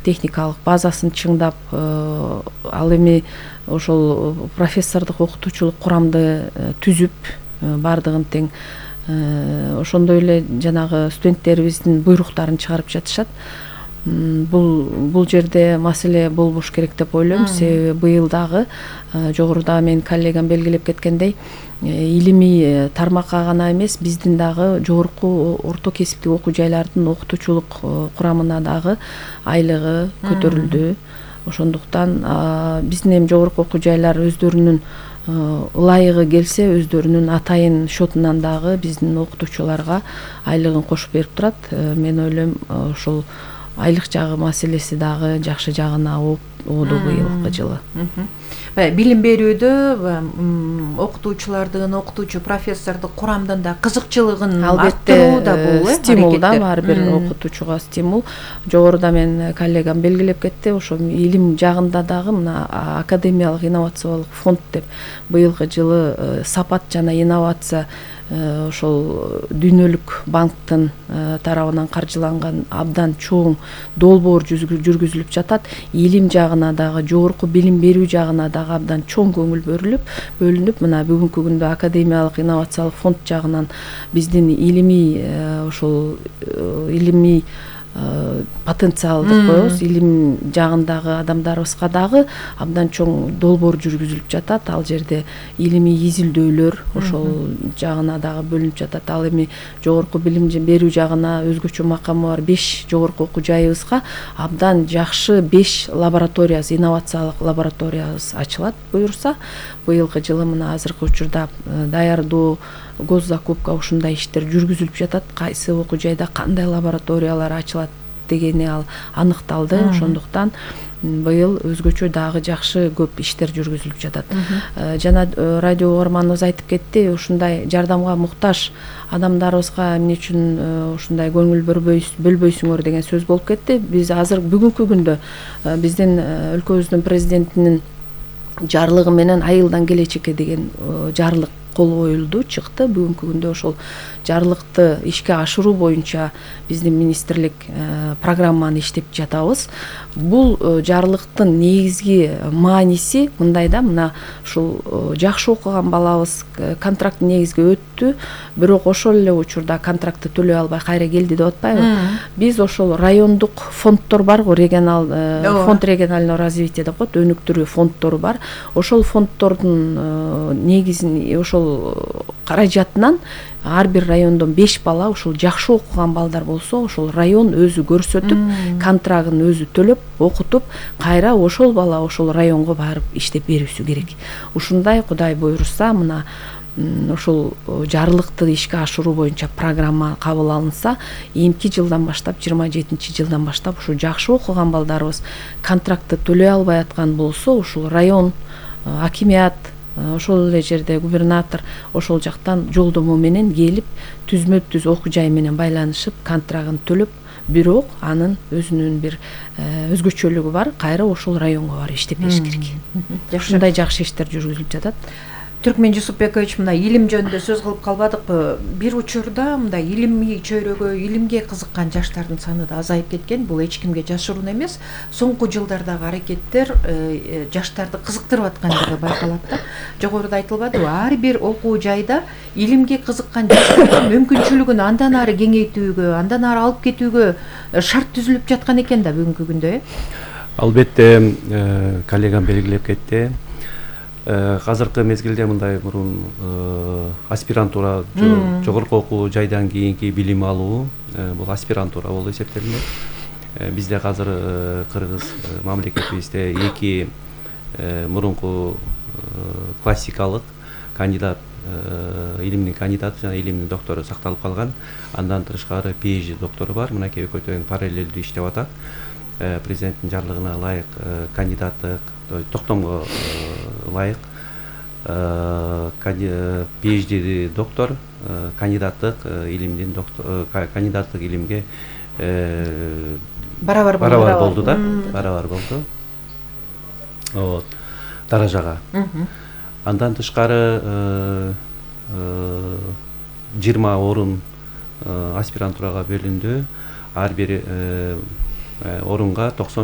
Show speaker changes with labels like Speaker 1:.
Speaker 1: техникалык базасын чыңдап, ал эми ошол профессордук окутуучулук курамды түзүп бардыгын тең ошондой эле жанагы студенттерибиздин буйруктарын чыгарып жатышат. Бул жерде маселе болбош керек деп ойлойм. Себеби быйыл дагы жогоруда менин коллегам белгилеп кеткендей, илимий тармакка гана эмес, биздин дагы жогорку орто кесиптик окуу жайлардын окутуучулук курамына дагы айлыгы көтөрүлдү. Ошондуктан биздин эми жогорку окуу жайлар өздөрүнүн ылайыгы келсе өздөрүнүн атайын счетунан дагы биздин окутуучуларга айлыгын кошуп берип турат. Мен ойлойм ошол айлык жагы маселеси дагы жакшы жагына ооду быйылкы жылы.
Speaker 2: Билим берүүдө окутуучулардын, окутуучу профессордук курамдын да кызыкчылыгын арттыруу да бул
Speaker 1: стимул да, ар бир окутуучуга стимул. Жогоруда мен коллегам белгилеп кетти, ошо илим жагында дагы мына академиялык инновациялык фонд деп быйылкы жылы сапат жана инновация ошол дүйнөлүк банктын тарабынан каржыланган абдан чоң долбоор жүргүзүлүп жатат. Илим жагына дагы, жогорку билим берүү жагына дагы абдан чоң көңүл бөлүнүп, мына бүгүнкү күндө академиялык инновациялык фонд жагынан биздин илимий ошол илимий потенциал деп коебуз, илим жагындагы адамдарыбызга дагы абдан чоң долбоор жүргүзүлүп жатат. Ал жерде илимий изилдөөлөр ошол жагына дагы бөлүнүп жатат. Ал эми жогорку билим берүү жагына өзгөчө макамы бар 5 жогорку окуу жайыбызга абдан жакшы 5 лабораториябыз, инновациялык лабораториябыз ачылат буюрса. Быйылкы жылы мына азыркы учурда даярдоо, госзакупка ушундай иштер жүргүзүлүп жатат. Кайсы окуу жайда кандай лабораториялар ачылат дегени ал аныкталды. Ошондуктан быйыл өзгөчө дагы жакшы көп иштер жүргүзүлүп жатат. Жана радио угарманыбыз айтып кетти, ушундай жардамга муктаж адамдарыбызга эмне үчүн ушундай көңүл бөлбөйсүңөр деген сөз болуп кетти. Биз азыр бүгүнкү күндө биздин өлкөбүздүн президентинин жарлыгы менен айылдан келечекке деген жарлык кол коюлду, чыкты. Бүгүнкү күндө ошол жарлыкты ишке ашыруу боюнча биздин министрлик программаны иштеп жатабыз. Бул жарлыктын негизги мааниси мындай да, мына ушул жакшы окуган балабыз контракт негизге өттү, бирок ошол эле учурда контрактты төлөй албай кайра келди деп атпайбы? Биз ошол райондук фонддор барго, регионал фонд регионального развития деп коет, өнүктүрүү фонддору бар. Ошол фонддордун негизин ошол каражатынан ар бир райондон 5 бала ушул жакшы окуган балдар болсо, ошол район өзү көрсөтүп, контрагын өзү төлөп, окутуп, кайра ошол бала ошол районго барып иштеп берүүсү керек. Ушундай Кудай буйруса, мына ошол жарлыкты ишке ашыруу боюнча программа кабыл алынса, эмки жылдан баштап, 27-жылдан баштап ушу жакшы окуган балдарыбыз контрактты төлөй албай аткан болсо, ушул район, акимият, ошол эле жерде губернатор ошол жактан жолдомо менен келип, түзмө-түз окуу жай менен байланышып, контрагын төлөп, бирок анын өзүнүн бир өзгөчөлүгү бар, кайра ошол районго барып иштеп бериш керек. Ушундай жакшы иштер жүргүзүлүп жатат.
Speaker 2: Түркмен Жусупбекович, мына илим жөнүндө сөз кылып калбадыкпы? Бир учурда мындай илимий чөйрөгө, илимге кызыккан жаштардын саны да азайып кеткен. Бул эч кимге жашыруун эмес. Соңку жылдардагы аракеттер жаштарды кызыктырып аткандыгы байкалат да. Жогоруда айтылбадыбы? Ар бир окуу жайда илимге кызыккан жаштардын мүмкүнчүлүгүн андан ары кеңейтүүгө, андан ары алып кетүүгө шарт түзүлүп жаткан экен да бүгүнкү күндө.
Speaker 3: Албетте, коллегам белгилеп кетти. Азыркы мезгилде мындай мурун аспирантура, жогорку окуу жайдан кийинки билим алуу, бул аспирантура болуп эсептелинет. Бизде азыр Кыргыз мамлекетибизде 2 мурунку классикалык кандидат, илимдин кандидаты жана илимдин доктору сакталып калган. Андан тышкары PhD доктору бар. Мынакей экөө тең параллелдүү иштеп атат. Президенттин жарлыгына ылайык кандидаттык, токтомго ылайык PhD доктор, кандидаттык илимдин доктор, кандидаттык илимге
Speaker 2: барабар
Speaker 3: болду да, барабар болду. Вот, даражага. Андан тышкары 20 орун аспирантурага бөлүндү. Ар бир орунга 90